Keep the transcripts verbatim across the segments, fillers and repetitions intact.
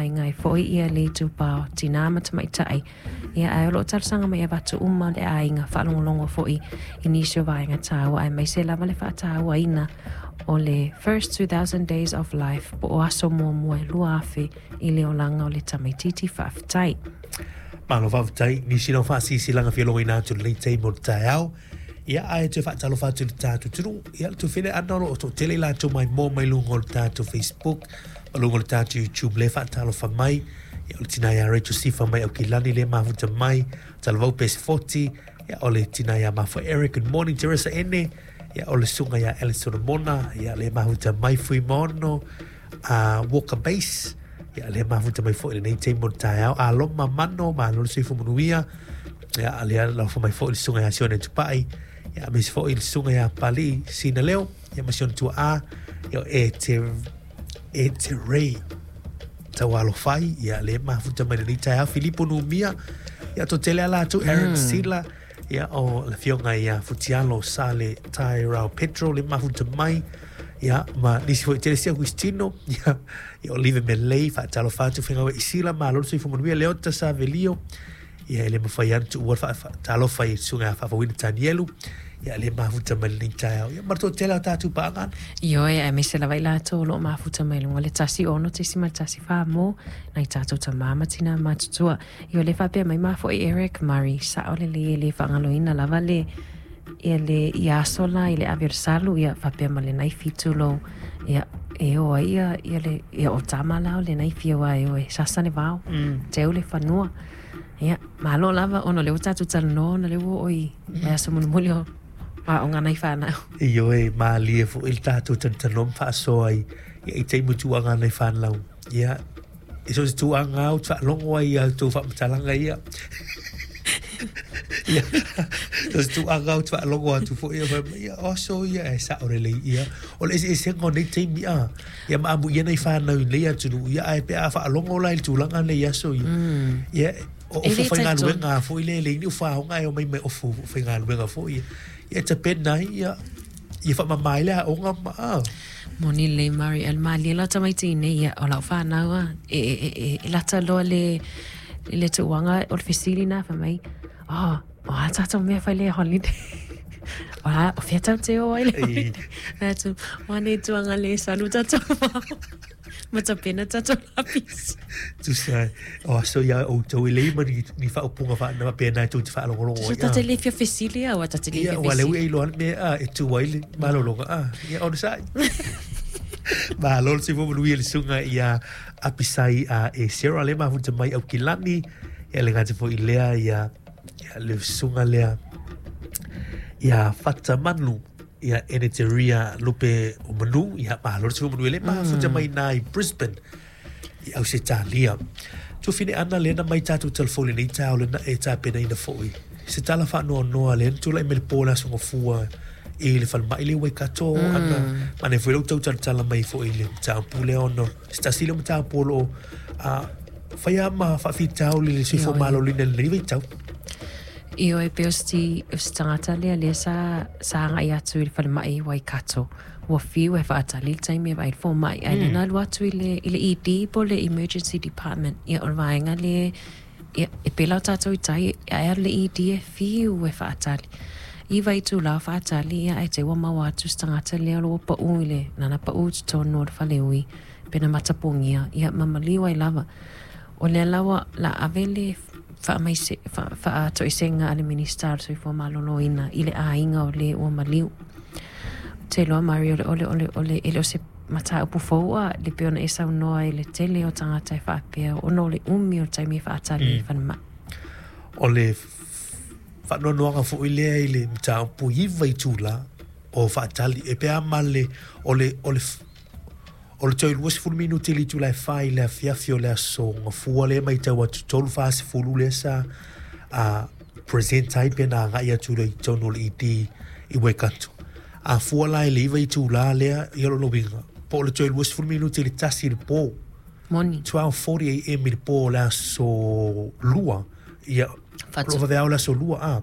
aiga ai foi ia le itupa o tinā ma tamaitai. Ia ae o loo talosaga mai avatu uma le aiga faalogologo foi i nisi o vaega taua aemaise lava le faatauaina o le first two thousand days of life po o aso muamua e lua afe i le olaga o le tamaititi. Faafetai. Malo faafetai nisi lau faasisilanga fialogoina atu lenei taimi o le taeao. Ia ae toe faatalofa atu i le tatou atunuu. Ia le tufele ana o loo toatele i latou maimoa mai luga o le tatou Facebook ma luga o le tatou YouTube le faatalofa mai. Ia o le tina ia Rachel Sifa mai Aukilani le mafuta mai Talavou Pes forty. Ia o le tina ia Mafa Eric, good morning Teresa Ene. Ia o le susuga ia Alice Solomona, ia le mafuta mai Fuimaono uh, Walker Base. Ia le mafuta mai foi lenei taimi o le taeao. Aloma Mano, malo le soifua manuia. Ia lea laufa mai foi le susuga ia Sione Tupai. Ia aemaise foi le susuga ia Pali Sina Leo. Ia ma Sione Tuaa. Ia e te e te Ray Taualofai, ia le mafuta mai lenei taeao. Filipo Numia, ia to tele ala atu Aaron Sila, ia o le afioga ia Futialo Sale Tairau Petro le mafuta mai. Ia ma nisi foi tele sia Agustino, ia ia Olive Melei faatalofa atu faigawe Isila, malo le soifua manuia. Leota Savelio, ia e le mafai atu tuua faatalofa i susuga ia Faafauina Tanielu, ia le mafuta mai lenei taeao. Ia ma le toatele o tatou paaga. Ioe, aemaise lava i latou o loo mafuta mai luga le tasi ono tesima tasi fa mo nai tatou tamā ma tinā matutua. Io le faapea mai mafo'i Eric Murray, sa'o lelei e le faagaloina lava le ia le ia aso la i le ave o le salu ia faapea ma lenai fitu lou ia e o ai ia ia le ia o tama la o lenai fia e o e sasa le vao mm. teu le fanua. Ia malo lava ona le o tatou talanoa ona le ua oi le aso mulimuli o aoga nai fanau. Ioe, malie foi le tatou talanoa ma faasoa i ia i taimi tuaga nai fanau. Ia e so se tuaga au te faalogo ai ia outou faamatalaga ia. Ia so se tuaga au te faalogo atu foi ia fai mai ia o aso ia e sao lelei ia. O le eseesega o nei taimi a. Ia ma amuia nai fanau i nei atunuu ia ae pe a faalogo la i le tulaga nei aso ia. Ia o E ofo le talitonu. Faigaluega foi le le ni ufaoga e o mai mai ofo faigaluega foi ia. Ia e tapena ai ia ia faamama ai le aoga ma a. Moni lelei Murray, a le malie la tamaiti nei ia o lau fanau a e e e e, e lata loa le le tuuaga o le fesili na fai mai, oh, o a tatou mea fai le holiday. O a o fea tau te o ai le Ei. holiday. Fai atu, o ane tuaga le salu tatou vao. Ma tapena tatou lapisi. Tusa o aso ia outou e lei ma ni, ni faaupuga faana faapena e tou te faalogologo Tusa ai tate a. le fia fesili a ua tate le Ia fia ua le ui fesili. e iloa le mea a e tu ai le malologa a. Ia ona sa'i. Malo le soifua manuia le susuga ia Apisai a e Sarah le mafuta mai Aukilani. Ia le gata foi lea ia ia le susuga lea ia Fatamanu ia Eneteria Lupe o Manu, ia malo le soifua manuia le mafuta mai na i Brisbane i Ausetalia. Tufine ana le na mai tatou telefoni nei taeao le na e tapenaina foi. Se tala faanoanoa le na tulai mai le po le aso Gafua i le falemai le Waikato ana manaia foi lou tau talatala mai foi i le mataupu lea ona se tasi lea o mataupu o loo a faia ma faafitauli le soifua Ioe. malōlōina i lenei vaitau. Ioe, pe o se o se tagata lea lea sa sa agai atu i le falemai i Waikato. Ua fiu e faatali le taimi e vaai i le fomai. Ae lea na alu atu i le, i le E D po o le Emergency Department. Ia o le vaega le ia, e pela o tatou i tai, ae alu le E D e fiu e faatali. Iva itulā o faatali ia ae te ua maua atu se tagata lea o lo o pau i le nana pau i totonu o le faleui pe na matapogia ia ma maliu ai lava. O lea la ua la ave le faamaise faatoesega a le Minista o le Soifua Maloloina i le aiga o le ua maliu. Te iloa Murray o le ole ole ole e le o se mataupu fou a le pei ona e saunoa i le tele o tagata e faapea ona o le umi o le taimi e faatali i falemai. O le faanoanoaga foi lea i le mataupu iva itulā o faatali e pe a ma le o le o le o le toe luasefulu minute i le itula e fa i le afiafi o le aso Gafua lea matau atu tolu fasefulu lea sa a present ai pe na agai atu le i totonu o le E D i Waikato. A fua la i le iva itulā lea ia lona uiga po o le toe luasefulu minute i le tasi i le po. Moni. twelve forty a m i le po o le aso Lua ia Fatu. lo vaveao le aso Lua a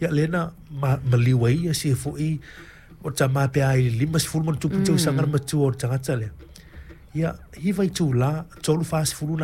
ia lea na ma, maliu ai ia sia foi o tamā pe a i le lima sefulu ma ona tupu tausaga le matua o le tagata lea. Ia, iva itulā, tolu fasefulu na